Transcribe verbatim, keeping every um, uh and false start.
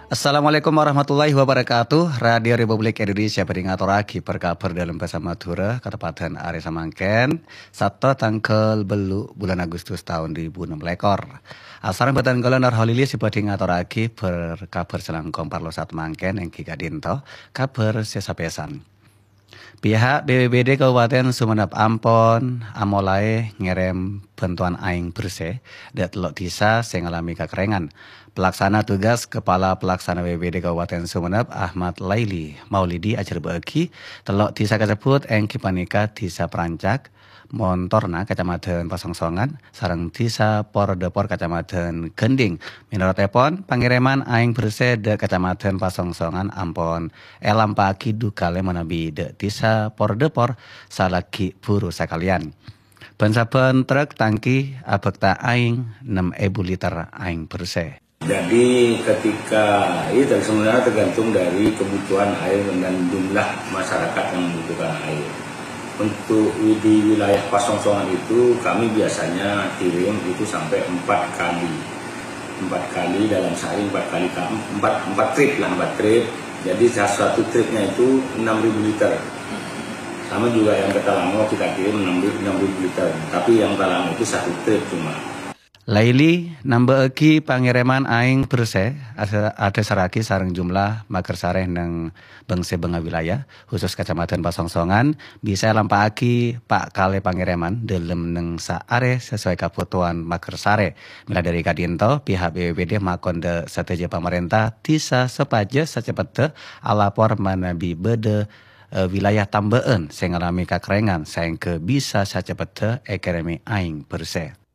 Assalamualaikum warahmatullahi wabarakatuh. Radio Republik Indonesia bhâdhi ngatorraghi bâr-kabhâr dâlem bhâsa Madhurâ, kateppadhân arè samangkèn, Sabtu tangghâl tello' bulân Agustus taon dhu èbu ennem lèkor. Asareng bhâdhân kaulâ Nur Holili sè bhâdhi ngatorraghi bâr-kabhâr sè langkong parlo saat mangkèn èngghi ka'dinto kabhâr sè sapèsan. Pihak B P B D Kabupaten Sumenep ampon amolaè ngèrèm bhântowan aèng bhersè dâ' tello' dhisa sè ngalamè kakerrèngan. Pelaksana tugas Kepala Pelaksana B P B D Kabupaten Sumenep, Ahmad Laili Maulidi, ajhârbâ'âghi tello' dhisa kasebbhut èngghi panèka Dhisa Prancak, Montorna, Kacamadhân Pasongsongan, sareng Dhisa Pordepor, Kacamadhân Gending. Mènorotèpon, pangèrèman aèng bhersè dâ' Kacamadhân Pasongsongan ampon èlampa'aghi dhu kalè manabi dâ' Dhisa Pordepor salaghi buru sakalèyan. Bân-sabbhân trek tangki abhâkta aèng nem èbu liter aèng bhersè. Jadi ketika itu sebenarnya tergantung dari kebutuhan air dan jumlah masyarakat yang membutuhkan air. Untuk di wilayah Pasongsongan itu kami biasanya kirim itu sampai empat kali, empat kali dalam sehari, empat kali ka- empat empat trip lah, empat trip. Jadi satu tripnya itu enam ribu liter. Sama juga yang ke Talango kita kirim enam ribu liter. Tapi yang Talango itu satu trip cuma. Laili namba'aghi pangèrèman aèng bhersè asa- adhâsarraghi sareng jumlah mager sarè neng bâng-sèbângnga wilayah, khusus Kacamadhân Pasongsongan, bisa èlampa'aghi pa' kalè pangèrèman dâlem neng saarè sasowai kabhutowan mager sarè. Mèla dâri ka'dinto, pihak B P B D makon dâ' sadhâjâ pamarènta dhisa sopajâ saceppetta alapor manabi bâdâ, eh, wilayah tambâ'ân sè ngalamè kakerrèngan saèngghâ bisa saceppetta èkèrèmè aèng bhersè.